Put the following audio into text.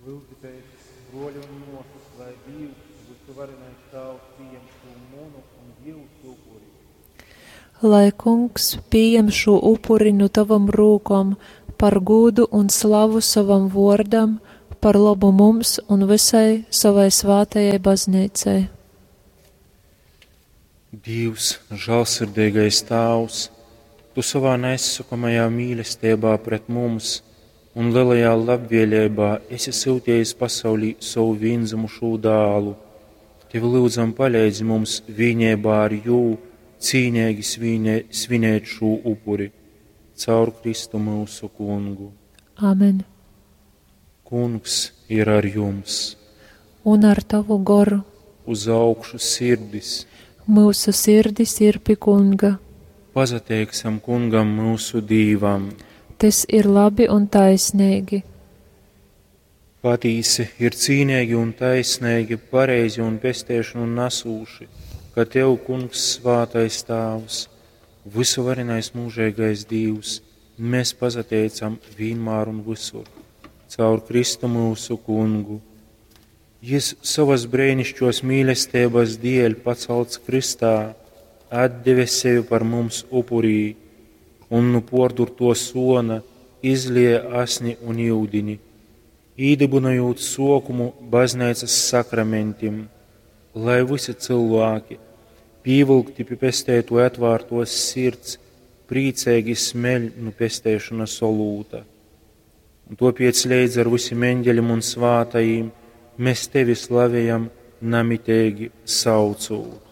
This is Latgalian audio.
Lyudzitēs, bruoļi un muosys, lai Dīvs, vysuvarenais Tāvs, pījem šū munu un jiusu upuri. Lai Kungs pījem šū upuri nu tovom rūkom par gūdu un slavu sovam vuordam, par lobu mums un vysai sovai svātajai Bazneicai. Dīvs, žālsirdeigais Tāvs, tu sovā naizsokamajā mīlesteibā pret mums un lelajā labvēleibā esi syutejis pasaulī sovu vīndzymušū Dālu. Tevi lyudzam, paleidzi mums vīneibā ar jū cīneigi svīnē, svinēt šū upuri. Caur Kristu myusu Kungu. Amen. Kungs ir ar jums. Un ar tovu goru. Uz augšu sirdis. Myusu sirdis ir pi Kunga. Pasateiksim Kungam myusu Dīvam. Tys ir labi un taisneigi. Patīsi ir cīneigi un taisneigi, pareizi un pesteišonu nasūši, ka Tev, Kungs, svātais Tāvs, vysuvarenais mūžeigais Dīvs, mēs pasateicam vienmēr un visur, caur Kristu myusu Kungu. Jis sovas breinišķos mīlestības dēļ pacelts kristā, atdeve sevi par mums upurī, un nu pordurto sona izlieja asni un iudini, īdibinojot sokumu bazneicas sakramentim, lai visi cilvēki, pīvilkti pie pestētoja atvārtos sirds, priecīgi smeļ nu pestēšanas olūta. Un topiec leidz ar visiem eņģeļiem un svātajiem mēs tevi slavējam namitīgi saucot.